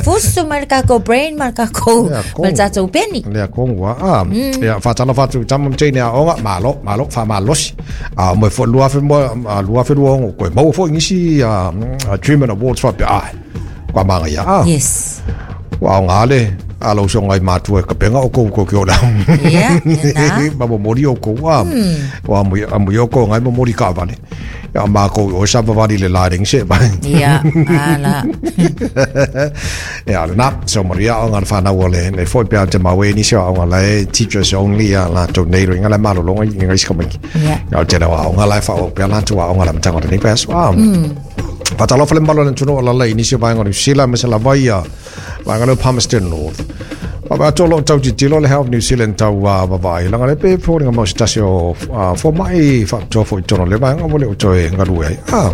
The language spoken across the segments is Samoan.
Fusu mai le tatou brain ma le tatou ma le tatou peni. Lea tonu a. Ia faatalofa atu i tama ma teine aoga, malo, malo, faamalosi. A mo foi 2026 koe maua foi nisi Achievement Awards faapea ai. Kwa manga ia. Ah. Yes. Ua aoga le a lau usoga i matua e kapega o kou kou ki o lau. Ia, lena. Ma momoli o kou a. Ua amu i o kou ngai momoli kaavale. Ia mākou o sa vavali le la ringi se mai. Ia, ala. Ia, lena, so maria o ngā whanau o le, le foi pea te mawe ni se o ngā lai teachers only a la tau nei ringa le malolonga i ngā isi kamiki. Ia. Ia, o te rewa o ngā lai wha o pea la tua o ngā la matanga o te nei pea so. Whatalofa le malo le tunu o lala i nisi o vaenga o New Zealand, me se lava ia vaenga leo Palmerston North. Wa atu lo tau titilo le Health New Zealand tau vavai. Langa le pe pōringa mau se tasi o fōmai whaatoa fo i tono le vaenga mo le o toe ngalue ai. Ah,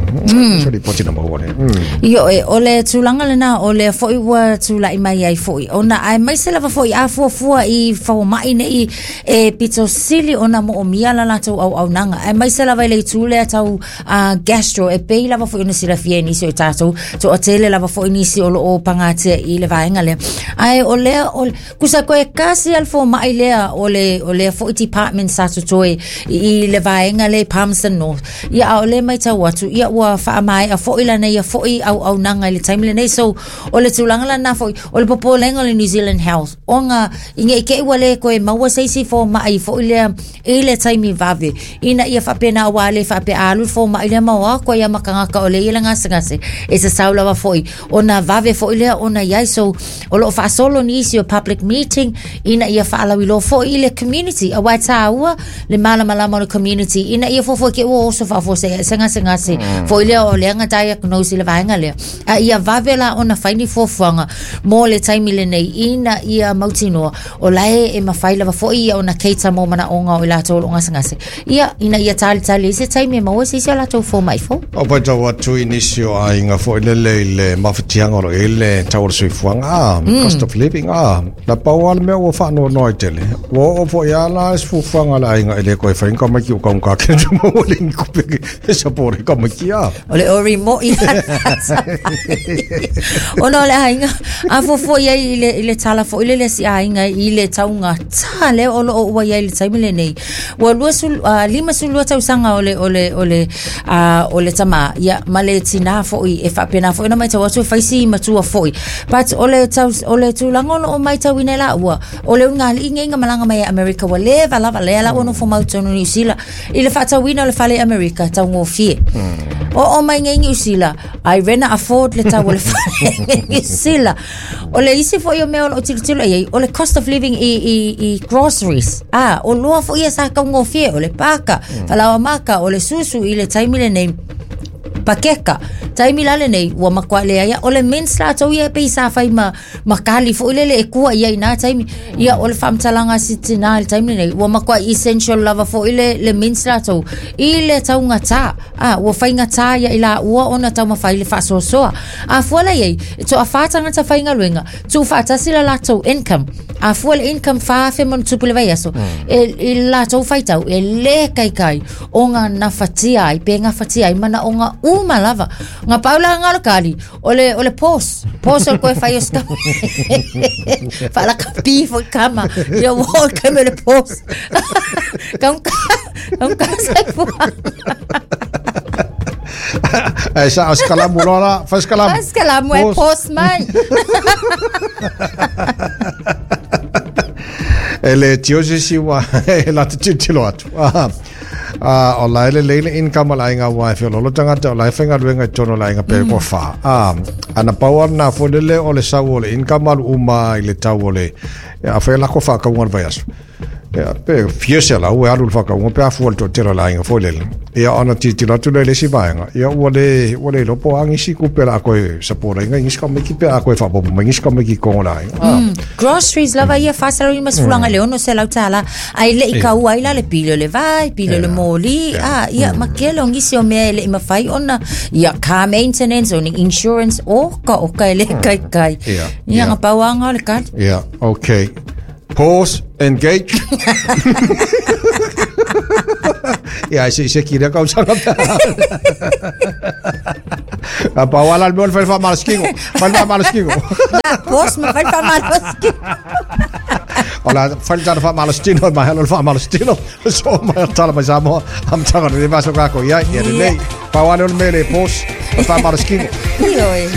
so li poti na maua le. Io e, o le tulaga lena o lea foi ua tula'i mai ai foi ona aemaise lava foi a fuafua i foma'i nei e pito sili ona mo'omia la latou auaunaga aemaise lava i le itu lea tau gastro e pei lava foi ona silafia e nisi o i tatou to'atele lava foi nisi o lo'o pagatia i le vaega lea ae o lea o kusa koe kasi al foma'i lea o le o lea foi department sa totoe i le vaega lea i Palmerston North ia a o le maitau atu ia ua faamaea foi lana ia foi auaunaga i le taimi lenei so o le tulaga lana foi o le popolega o le New Zealand Health ona i nei te i ua le toe maua se isi foma'i foi lea i le taimi vave ina ia faapena ua le faapea a alu le foma'i lea ma o atu ai ma tagata o lea i le gasegase e sasau lava foi ona vave foi lea ona iai so o loo faasolo nisi o public meeting ina ia faalauiloa foi i le community auā e tāua le malamalama o le community ina ia fuafua ke ua oso faafuasei se gasegase foi lea o lea na diagnose i le vaega lea a ia vave la ona fai ni fuafuaga mo le taimi lenei ina ia mautinoa o lae e mafai lava foi ia ona cater mo manaoga o i latou o loo gasegase ia ina ia talitali ai se taimi e maua se isi o latou foma'i fou. O paitau atu i nisi o aiga foi lele i le mafatiaga o lo o i ai le tau o le soifuaga, cost of living, na pau lava le mea ua faanoanoa ai tele, ua oo foi lava la se fuafuaga a le aiga e le toe fai ni tamaiti o taugata tele te maua le ni tupe e support ai tamaiti, a. O le ori mo'i ona o le aiga a fuafua i ai i le tala foi lele a si aiga i le taugata lea o loo ua i ai i le taimi lenei ua 52 tausaga o le o le o le o le tamā ia ma le tinā foi e faapena foi ona maitau atu e fai si matua foi but o le tau, o le tulaga o loo maitauina e laua o le ulugalii nei na malaga mai e Amerika ua leva lava lea la ua nofo mau i totonu o Niu Sila i le faatauina o le fale i Amerika taugofie oo mai nei Niu Sila ai rena afford le tau o le fale i Niu Sila o le isi foi o mea o loo tilotilo i ai o le cost of living i groceries a o loa foi ia sa taugofie o le paka falaoa maka o le susu i le taimi lenei pakeka taimi la lenei ua matua leai o le mince latou ia e pei sa fai ma ma kali foi lele e kua ia i nā taimi ia o le faamatalaga a si tinā i le taimi lenei ua matua essential lava foi le mince latou i le taugatā a ua faigatā ia i laua ona taumafai le faasoasoa a fua la i ai e toafā tagata faigaluega tuufaatasi la latou income a fua le income 4,000 ma ona tupu le vaiaso e i le latou faitau e lē kaikai o ga nafatia ai pe gafatia ai manaoga uma lava ga pau la ga o le kali o le pause pause o le koe fai o se faalakapi foi kama ia ua oo le taimi o le pause taugata soifuaga. Ai sa o se kalamu loa la, fai se kalamu. Fai se kalamu e pause mai. E le tio se isi ua e la te tilotilo atu. Ah, o la e lelei le income o le aiga aua e feoloolo tagata o la e faigaluega i totonu o le aiga pe ua fa. Ah, ana pau lava lena foi lele o le sau o le income alu uma i le tau o le a fai lako faakauga o le vaiaso. Ia, pe fia selau e alu i le faakauga pe a fua i le toatele o le aiga foi lele. Ia ona tilotilo atu lea i le isi vaega, ia ua le iloa po o a nisi tupe o le a toe support ai nisi tamaiti pe a toe faaopoopo mai nisi tamaiti i totonu o le aiga. Ah. Groceries lava ia 450 le $600 ae le i kaua ai la le pili o le vai, pili o le moli, a ia ma tele o nisi o mea e le i mafai ona ia car maintenance o ni insurance oka oka e le kaikai. Ia na pau lava na o le kali. Yeah, okay. Pause, engage. Ia, se se ki lea kausaga pe. A pa wala le mea o le fai le faamalositino. Fai le faamalositino. Na, pos ma fai le faamalositino. O la fai le tala faamalositino, mai alo le faamalositino. So mai tala mai Samoa, amataga o lenei vaiaso kako iai, ia lelei. Pau lava lea o le mea e le pos, o le faamalositino. Ioe.